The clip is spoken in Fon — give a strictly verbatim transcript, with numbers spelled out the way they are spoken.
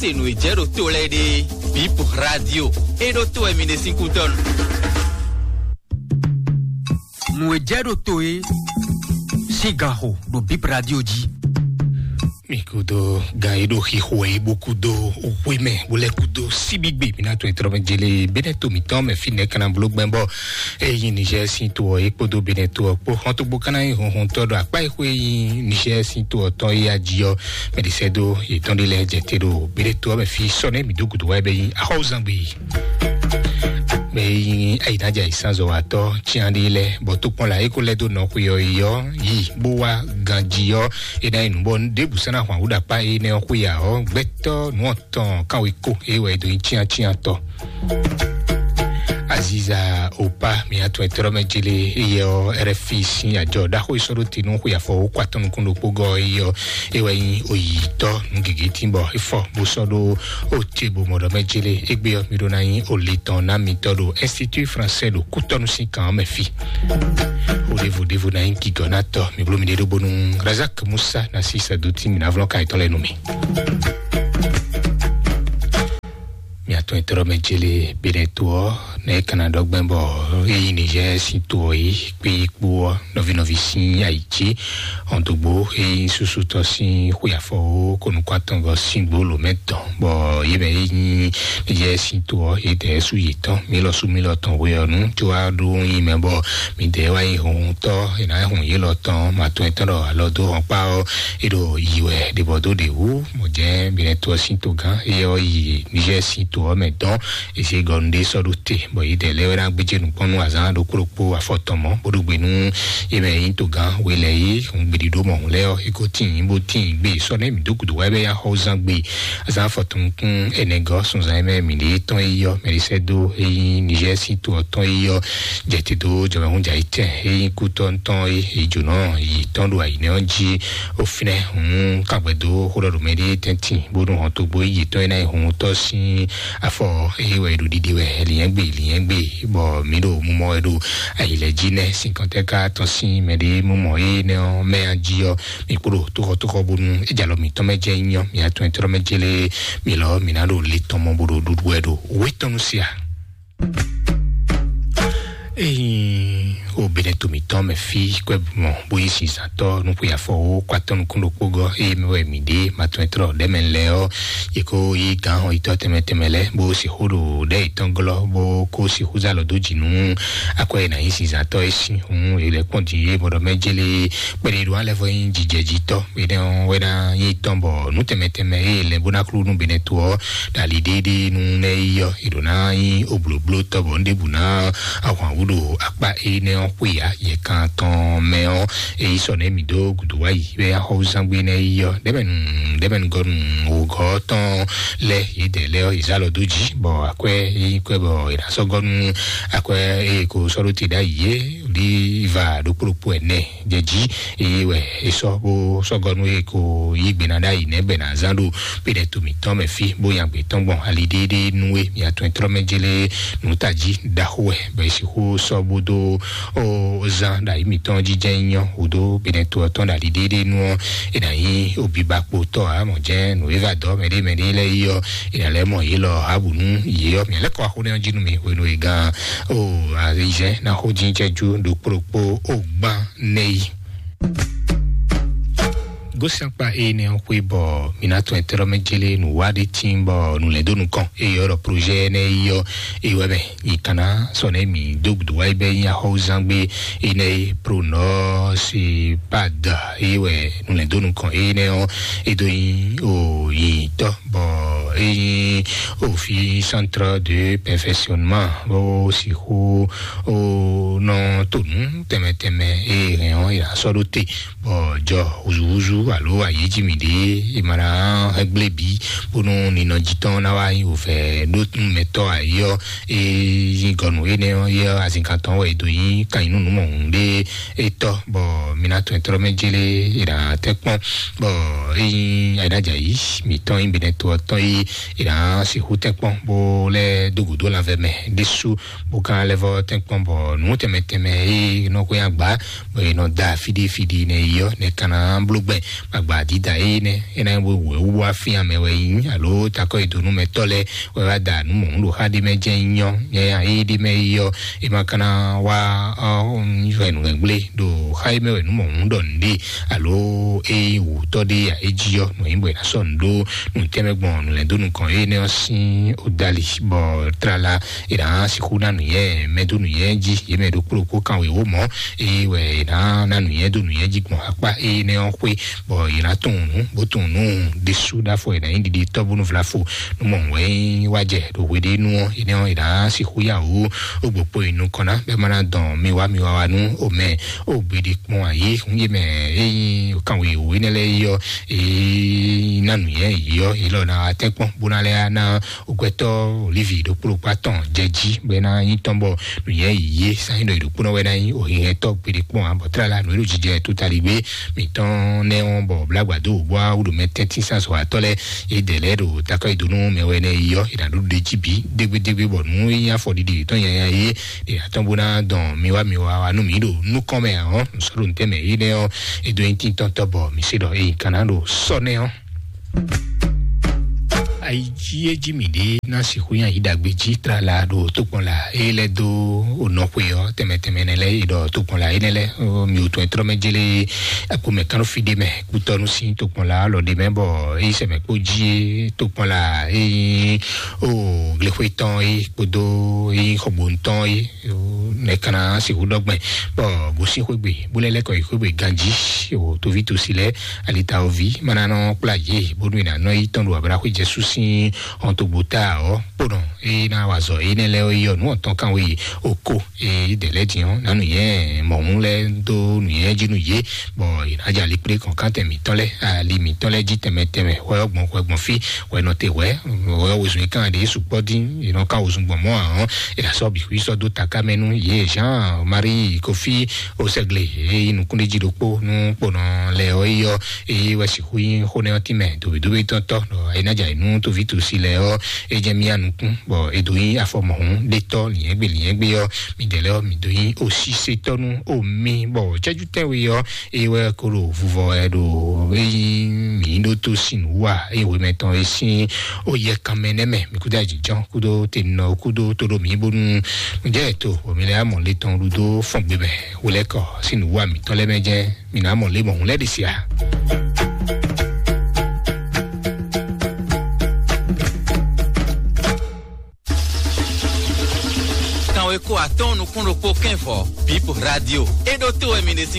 Se nǔ e jɛ ɖo to lɛ́ɛ ɖe, Bip Radio, e ɖo to wɛ mi ɖe sín kútɔ́nu. Nǔ e jɛ ɖo to e sín ganxo ɖo Bip Radio jí. Mi kudo gan e ɖo xixo e bo kudo hwe mɛ bo lɛ kudo síbígbe mi na to etrɔ mɛ jele bene to mitɔn mɛ fi nɛ kana blo gbɛn bɔ eyi Niger sin to ɔ e kpodo bene to ɔ kpo hɔn to gbo kana yi hɔn hɔn tɔ ɖo akpa e xwe yi Niger sin to ɔ tɔn e aji ɔ mɛ di sɛ do yetɔn de lɛ jɛ te ɖo bene to ɔ mɛ fi sɔ nɛ mi do gudo wa bɛ yi axɔwuzangbe yi. Mɛ yi ayi na ja yi sanzɔ wa tɔ tian de lɛ bɔ to kpɔn la e ko lɛ do nɔ xwe ɔ yi ɔ yi bó wá ganji ɔ e na yi nǔ bɔ ɖěbǔ sɛn na hwan wú ɖo akpa e nɛ ɔ xwe ya ɔ gbɛtɔ nǔ ɔtɔn kan wé ko e wɛ e do nyi tian tian tɔ. Aziza opa mi atɔn etɔrɔ mɛ jele eyɛ ɔ rfi sin ajɔ ɖaxo isɔ ɖo tinu xwe afɔ wo kɔ atɔn nukun ɖokpó gɔ eyɛ ɔ e wɛ nyi oyitɔ nu gege tin bɔ efɔ bó sɔ ɖo o te bo mɔ ɖɔ mɛ jele egbe ɔ mi ɖo na nyi o le tɔn na mi tɔ ɖo institut français ɖo kútɔnu sin kan mɛ fi. O ɖevo ɖevo na nyi gigɔ na tɔ mi blo mi ɖe ɖo bonu Razak Musa na si sa do tin mi na vlɔ ka etɔn lɛ nu mi. Mi atɔn etɔrɔ mɛ jele bene to ɔ ne kana ɖɔ gbɛn bɔ eyi Niger sin to ɔ yi kpe yi kpo ɔ nɔvi nɔvi sin ayi ce ɔn dogbo eyi susu tɔ sin xwe afɔ wo ko nukun atɔngɔ sin gbolo mɛ tɔn bɔ yi mɛ yi nyi Niger sin to ɔ yi dɛ su yi tɔn mi lɔ su mi lɔ tɔn we ɔ nu tso wa ɖo yi mɛ bɔ mi dɛ wa yi hun tɔ yi na hun yi lɔ tɔn ma tɔn etɔn ɖɔ alɔ do hɔn kpa ɔ e ɖo yi wɛ ɖe bɔ do ɖe wu mɔ jɛ bene to ɔ sin to gán e ɔ yi Niger sin to ɔ mɛ dɔn esi gɔnu ɖe sɔ ɖo te bɔ yi dɛ lɛ wɛ na gbedze nukpɔnu azan ɖokpo ɖokpo afɔtɔn mɔ bó ɖo gbe nú yi mɛ yi to gán we lɛ yi hun gbedi ɖo mɔ hun lɛ ɔ e ko tin yi bó tin yi gbe sɔ ne mi do gudu wa bɛ ya xɔ zan gbe azan afɔtɔn kun ɛnɛ gɔ sunzan yi mɛ mi ɖe tɔn yi yɔ mɛ ɖe sɛ do eyi Niger sin to ɔ tɔn yi yɔ jɛ te do jɔmɛhun jɛ yi tɛ eyi kú tɔn tɔn yi yi jona yi tɔn ɖo ayi nɛ ɔ ji o finɛ hun kagbɛ do xó ɖɔ ɖo mɛ ɖe tɛntin bó ɖo hɔn togbo yi tɔn yi na yi hun tɔ sin afɔ eye wɛ ɖo ɖiɖi wɛ liɛngbe liɛngbe bɔ mi ɖo mumɔ wɛ ɖo ayi lɛ ji nɛ sinkɔntɛ ka tɔn sin mɛ ɖe mumɔ ye nɛ ɔ mɛ a ji ɔ mi kpo ɖo toxɔ toxɔ bonu ejalɔ mitɔn mɛ jɛ nyɔ mi atɔn etɔn mɛ jele mi lɔ mi na ɖo le tɔn mɔ bo ɖo ɖuɖu wɛ ɖo wetɔnu sia. Eyi o bene to mitɔn mɛ fi kwɛ mɔ bo yi sinsatɔ nukun afɔ wo kɔ atɔn nukun ɖokpo gɔ eye mɛ wɛ mi ɖe ma tɔn etrɔ ɖɛ mɛ lɛ ɔ ye ko yi gan hɔn itɔ tɛmɛ tɛmɛ lɛ bo si xo ɖo ɖɛ itɔn glɔ bo ko si xo zalɔ do dzi nu akɔ yi na yi sinsatɔ e si hun e lɛ kpɔn di ye mɔ ɖɔ mɛ jele kpɛɖe ɖo alɛ fɔ yi jijɛ ji tɔ ene ɔ wɛ na yi tɔn bɔ nu tɛmɛ tɛmɛ eye lɛ bo na klo nu bene to ɔ dali ɖeɖe nu nɛ yi ɔ e ɖo na yi obloblo tɔ bɔ n ɖebu na ahwan wu ɖo akpa enɛ ɔ xwe ya yɛ kan tɔn mɛ ɔ eyi sɔ nɛ mi do gudu wa yi bɛ axɔwuzangbe nɛ yi ɔ ɖɛbɛnu ɖɛbɛnu gɔnu wogɔ tɔn lɛ yi dɛ lɛ ɔ yi zalɔ do ji bɔ akwɛ yi kwɛ bɔ yi na sɔ gɔnu akwɛ eye ko sɔ ɖo te ɖa yi ye li va ɖokpo ɖokpo ɛnɛ jɛ ji eye wɛ esɔ bo sɔgɔnu eye ko yi gbena ɖ'ayi nɛ bɛ na zan ɖo pe ɖɛ to mitɔn mɛ fi bo nya gbe tɔn gbɔn ali ɖeɖe nu e mi atɔn trɔ mɛ jele nu ta ji ɖaxo wɛ bɛ si xo sɔ bo do o zan ɖ'ayi mitɔn ji jɛ nyɔ o do pe ɖɛ to tɔn ɖ'ali ɖeɖe nu ɔ e na yi obi ba kpo tɔ a mɔ jɛ nu e va dɔ mɛ ɖe mɛ ɖe lɛ yi ɔ e na lɛ mɔ yi lɔ abu nu yi ɔ mi lɛ kɔ axo nɛ ɔ ji nu mi hwenu e gan o ayi zɛ na xo ji jɛ ju ɖokpo ɖokpo o gban nɛ yi. Gosín akpa ene ɔ́ xwé bɔ mǐ ná tɔn ɛtɛ́ mɛ jélé nǔ wá ɖé tíin bɔ nǔ lɛ́ dó nukɔn eye ɔ́ ɖɔ projet énɛ́ yi ɔ́ eye wɛ mɛ yi kana sɔ nɛ mǐ dó gǔdo wá yi bɛ nyi axɔ́wúzán gbé énɛ́ e pronɔ se pad eye wɛ nǔ lɛ́ dó nukɔn énɛ́ ɔ́ e dó nyi o yi tɔ bɔ e nyi o fi centre de perfectionnement bó sixú o nɔ to nǔ tɛnmɛ tɛnmɛ e hɛn ɔ́ e ná sɔ́ ɖó te bɔ jɔ húzúhúzú alo ayǐjimi ɖé e ma ná hɛn gblé bǐ bónú ninɔjí tɔn ná wá nyí wǒvɛ́ ɖó nú mɛtɔ́ ayǐ ɔ́ e nyí gɔnu énɛ́ ɔ́ yɛ azinkan tɔn wɛ e dó nyí kan nyí nú nǔ mɔ̌hun ɖé e tɔ́ bɔ mi ná tɔn ɛtrɔ́ mɛ jélé e ná tɛ́ kpɔ́n bɔ e nyí ayǐnájǎyí mǐtɔn nyí benɛto ɔ́ tɔn yi È nǎ sixú tɛ́nkpɔ́n bó lɛ́ dó gǔdo lanvɛ mɛ ɖésú, bó ka lɛ́ vɔ́ tɛ́nkpɔ́n bɔ nǔ tɛnmɛ tɛnmɛ e nɔ xwé agba, bɔ è nɔ da fíɖí fíɖí nɛ yi ɔ́, nɛ ka ná bló gbɛn. Agba dídá e nɛ é ná nyí wěwú wá fín amɛ wɛ nyí, alo takɔ e donu mɛ tɔ́ lɛ́ɛ wɛ wá da nǔ mɔ̌ ɖo xá ɖé mɛ jɛ́n nyí ɔ́, nyɛ nya e ɖé mɛ yi ɔ́, è ma ka ná wá ɔ́, yɔ nǔ gblé ɖo xá e mɛ wɛ nǔ mɔ̌ ɖɔ nǔɖé, alo e nyí wǔtɔ́ ɖé ya é jí ɔ́, nɔ nyí bɔ è nǎ sɔ́ nǔ ɖó nǔ tɛnmɛ gbɔn nǔ lɛ́ dó nukɔn énɛ́ ɔ́ sín odali, bɔ tlala è nǎ sixú ná nǔnyɛ mɛ dó nǔnyɛ jí, yě mɛ ɖokpó ɖokpó kan wěwó mɔ̌, eye wɛ è nǎ ná nǔnyɛ dó nǔnyɛ jí gbɔn akpá énɛ́ ɔ́ xwé, bɔ è nǎ tunwun nǔ, bó tunwun nǔ ɖésú ɖáfɔ è nǎ nyí ɖiɖi tɔ́ bónú vlafo nú mɔ wɛ nyí wá jɛ ɖo hweɖénu ɔ́, énɛ́ ɔ́ è nǎ sixú yá wǔ ó gbokpo yi nukɔn ná, bɛ́ má ná dɔn mi wá mi wá wá nú omɛ ó gbeɖé kpɔn ayé, hún yé mɛ é nyí kan wěwó énɛ́ lɛ́ɛ yí ɔ́, é ná nǔnyɛ yí ɔ́, yě lɔ ná wá tɛ́nkpɔ́n bó ná lɛ́ ná okwɛtɔ́ Olivi ɖokpó ɖokpó atɔn jɛ jí, bɔ é ná nyí tɔn bɔ nǔnyɛ yí yé sán nyí ɖɔ yě ɖokpónɔ wɛ ná nyí òhihɛntɔ́ gbeɖé kpɔn ǎ, bɔ tlala nǔ e ɖo jijɛ tótaligbe mǐtɔn nɛ́ ɔ́, bɔ blágbadó bó wá wúɖu mɛ tɛ́ntín sán sɔ atɔ́ lɛ́ɛ, é dɛ lɛ́ɛ ɖo takɔ yi dó nú mɛ wɛ nɛ́ yí ɔ́, è nǎ ɖó ɖe jí bǐ dégbédégbé, bɔ nǔ e nyí afɔɖiɖi yětɔn nyanya é ɖe atɔ́ bó ná dɔn mi wá mi wá wá nú mǐ ɖo nukɔn mɛ ǎ ɔ́, nǔsɔ́ɖonútɛ́ mɛ énɛ́ ɔ́, é dó nyí tíntɔ́ntɔ́ bɔ mǐ se ɖɔ é nyí kan ná ɖo sɔ́ nɛ́ ɔ́. Ayi jí é jí mǐ ɖé ná sixú nyi ayi ɖagbe jí tlala ɖo tokpɔnla é lɛ́ dó onɔxwe ɔ́, tɛnmɛ tɛnmɛ nɛ lɛ́ é ɖɔ tokpɔnla énɛ́ lɛ́ɛ, mi wò tɔn e trɔ́ mɛ jélé akpomɛ kánú fí ɖé mɛ kútɔ́nú sín tokpɔnla lɔ ɖé mɛ, bɔ é yi sɛmɛ kpó jí é tokpɔnla é nyí o glexwe tɔn é kpódó é nyí xɔgbónu tɔn é. Nɛ kana sixú ɖɔgbɛn bɔ gosín xwégbe bó lɛ́ lɛ́kɔ yi xwégbe ganjí o toví tosi lɛ́ɛ alitawoví mana nɔ kplá yě bónú è nǎ nɔ yi tɔn ɖo abraxwé jɛsú sín hɔntogbota ɔ́ kponɔ é ná wa zɔ énɛ́ lɛ́ɛ yi ɔ́ nǔ ɔ̀tɔn kan wé yi oko é dɛ lɛ́ din ɔ́ nǎ nǔnyɛ mɔ̌hún lɛ́ dó nǔnyɛ jí nú yě, bɔ è nǎ jɛ ali kplé kɔn kántɛ mǐtɔn lɛ́ɛ ali mǐtɔn lɛ́ɛ jí tɛnmɛ tɛnmɛ hwɛ ɔ́ gbɔn hwɛ gbɔn fí hwɛ nɔ te hwɛ hwɛ ɔ́ wezun yi kan ɖě sukpɔ́ dín è nɔ kan wezun gbɔn mɔ̌ ǎ ɔ́, è nǎ sɔ́ bǐ xwí sɔ́ dó taká mɛ nú yě Jean Marie Kofi Osɛgle e nyí nukúnɖéjí ɖokpó nú kponɔ lɛ ɔ́ yi ɔ́, eye wɛ sixú nyí xó nɛ́ ɔ́ tínmɛ dǒbídóbí tɔn tɔ́ ɖɔ é ná jɛ ayǐ nú tóví tosi lɛ ɔ́, é jɛ mía nukún bɔ é dó nyí afɔ mɔ̌hún ɖétɔ́ lǐnyɛ́gbé lǐnyɛ́gbé ɔ́, midɛɛ lɛ́ɛ ɔ́, mi dó nyí osísétɔ́ nú omi bɔ cɛ́jú tɛ́nwe ɔ́, eye wɛ ko ɖo vuvɔ wɛ ɖo eye mǐ ɖótó sin wú a, eye hwemɛ tɔn e sín ó yɛ kanmɛ nɛ́ mɛ, mǐ kúdó ajǐjɔ́n kúdó tenɔ kúdó tóɖó mǐ bónú ǹjẹ́ tó bɔ mi lɛ́ amɔ le tɔn ɖu dó fɔn gbe mɛ wulɛ́kɔ sín nǔwú mǐtɔn lɛ́ɛ mɛ jɛ́n mi nǎ mɔ lě mɔ̌hún lɛ́ɛ ɖe sia. Kanweko atɔ́ɔ́n nukún ɖokpó kɛ́n vɔ̌, Bip Radio. É ɖótó wɛ mi ɖe sín